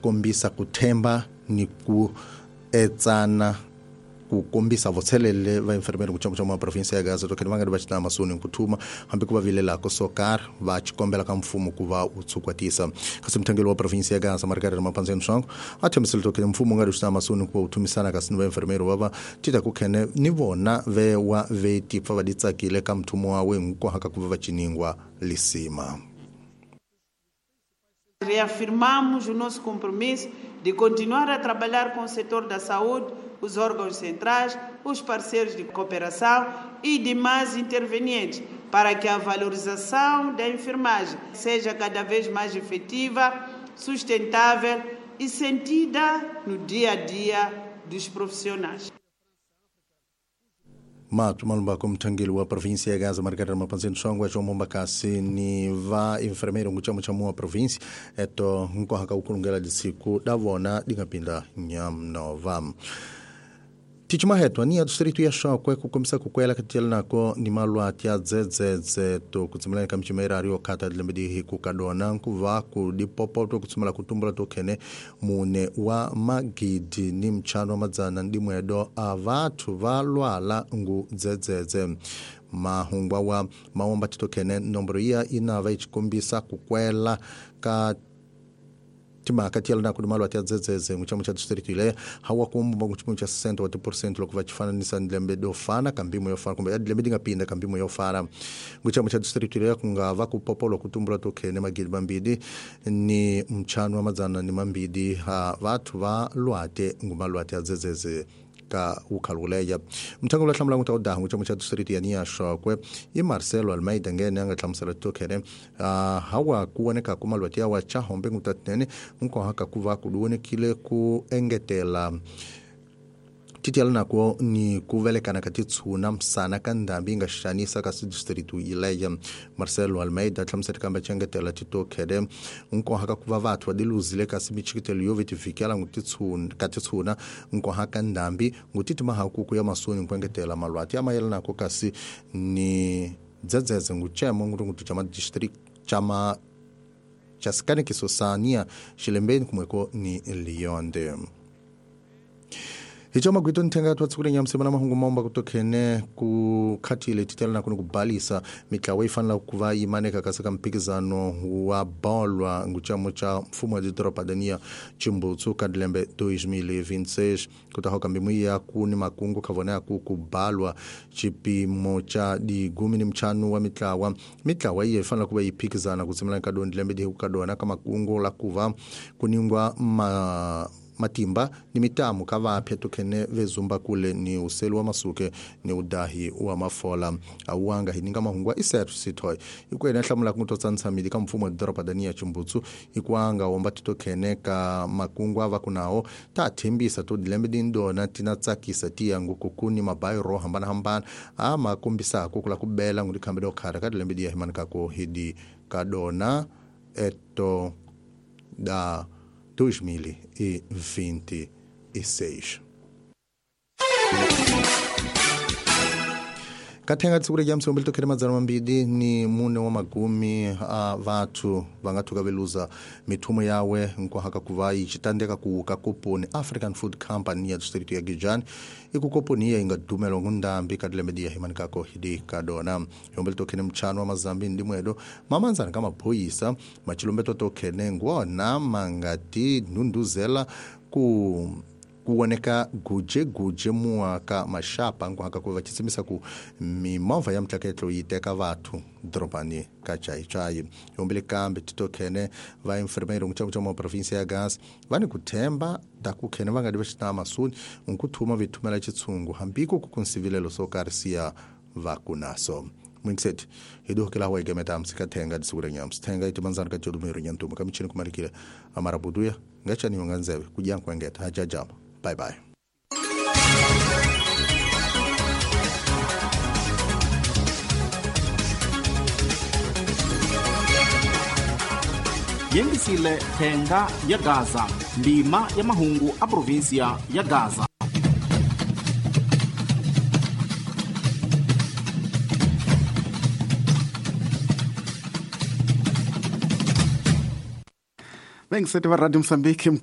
kombisa ku themba ni ku etsana ku kombisa vutselele va enfermero ku chamu chamu provinsia ya Gaza to va nga va xitama masoni ku thuma hambi ku va vilela ko sokar va xikombela ka mfumo ku va u tsukwatisa kasi mthangelo wa provinsia ya Gaza Margarita Mapanzeni Swango a thembisile to mfumo nga ri xitama masoni ku va u thumisana kasi va enfermero va va tita ku khene ni vona ve wa veti pfa va ditsakile ka mthumo wa we nkohaka ku va ciningwa lisima. Reafirmamos o nosso compromisso de continuar a trabalhar com o setor da saúde, os órgãos centrais, os parceiros de cooperação e demais intervenientes para que a valorização da enfermagem seja cada vez mais efetiva, sustentável e sentida no dia a dia dos profissionais. Mato malumba kumthangeli wa provinsia ya Gaza Margarita Mapanzeni Songwa João Mombakasi ni va enfermeiro nguchamu chamu wa provinsia eto nkohaka ukulungela disiku davona dingapinda nyamnova. Tichimahetwa ni ya distrito ya Shokwe kukomisa kukwela katiyela nako ni malwati ya dzedzedze to kutsimela ka mchimera rio kata dilembedi hiku kadona nkuva ku dipopoto kutsimela kutumbula tokene mune wa magidi ni mchano wa madzana ndimwedo a vathu va lwala ngu dzedzedze. Mahungwa wa maomba titokene nombro iya inava ichikombisa kukwela ka timaka tiela na kudumalo atia dzedzedze muchamu cha distrito ile hawa kumba muchamu cha 60% lokho vachifananisa ndlembe dofana kambimo yofana kumbe ndlembe dingapinda kambimo yofana muchamu cha distrito ile kungava kupopolo kutumbula tokhene magidi mambidi ni mchano wa madzana ni mambidi ha vathu va lwate ngumalwate adzedzedze ka ukhaluleya mthango la hlamula nguta udaha muchamu cha distrito ya Niashokwe i Marcelo Almeida ngene anga hlamusela tokhene hawa kuoneka kumalwati ya wacha hombe ngutatene nkohaka kuva kuduonekile ku engetela titiala nako ni kuvelekana ka titshuna msana ka ndhambi yi nga xanisa ka distrito ileya. Marcelo Almeida hlamusela kambe chengetela titokhele nkohaka kuva vathu va diluzile kasi michikitelo yo vetivikela ka titshuna nkohaka ndhambi ngutitima hakuku ya masoni nkuengetela malwati ya mayelana nako kasi ni dzedzedze nguchemo ngurungutu cha madistrict chama chasikanikiso sania xilembeni kumweko ni Lionde. Hicho magwito nthenga twa nyamsema na mahungu maomba kutokhene ku khathile titela na kubalisa mitlawa ifanela kuva yimaneka kasi ka mphikizano wa bolwa nguchamo cha mfumo wa didoropa dania Chimbutsu ka dilembe 2026 kutaho kambimu ya ku ni makungu khavona ya ku kubalwa chipimo cha digumi ni mchanu wa mitlawa mitlawa iye ifanela kuva yiphikizana kutsimela ka don dilembe di kadona ka makungu la kuva kuningwa matimba ni mitamu ka vapya tokhene vezumba kule ni uselu wa masuke ni udahi wa mafola awanga hininga mahungwa isetu sithoy ikwena hlamula kutotsantshamidi ka mfumo wa doroba dania Chimbutsu ikwanga womba titokhene ka makungu ava kunao ta thembisa to dilembe dindona tina tsakisa tiyangu kukuni mabayi ro hambana hambana a makombisako kula kubela ngudikhambe dokhara ka dilembe diya himanikako hidi kadona eto da 2026. Kathenga tsikule ja msombeli tokhele madzana mambidi ni mune wa magumi a vathu vangathuka veluza mithumo yawe nkohaka kuva ichitandeka kuuka koponi African Food Company ya distrito ya Gijani ikukoponi iya ingadumelo ngundambi kadilembe diya himanikako hidi kadona yombeli tokhene mchano wa mazambi ndimwedo mamanzana kamaphoyisa machilombeto tokhene ngwona mangati nunduzela ku kuoneka guje guje muaka mashapa nkuhaka kuva chitsimisa ku mimovha ya mtlaketlo yi teka vathu dorobani ka chaichai yombele kambe titokhene va enfermeiro nguchamu cha provinsia ya Gaza va ni ku themba ta ku khene va nga di va xitama masuni nkuthuma vithumela chitshungu hambiko ku kunsivilelo swo karhi siya va kunaso mwingiseti hiduhukela wa igemeta amsika thenga disukura nyamsi thenga itimanzana ka jodumero nyantuma ka michini kumalikile amarabuduya ngachaniwa nga nzeve kujankwengeta hajajama. Bye bye. Yengisile thenga ya Gaza, ndima ya mahungu a provinsia ya Gaza. Bengisete va Radio Mozambique.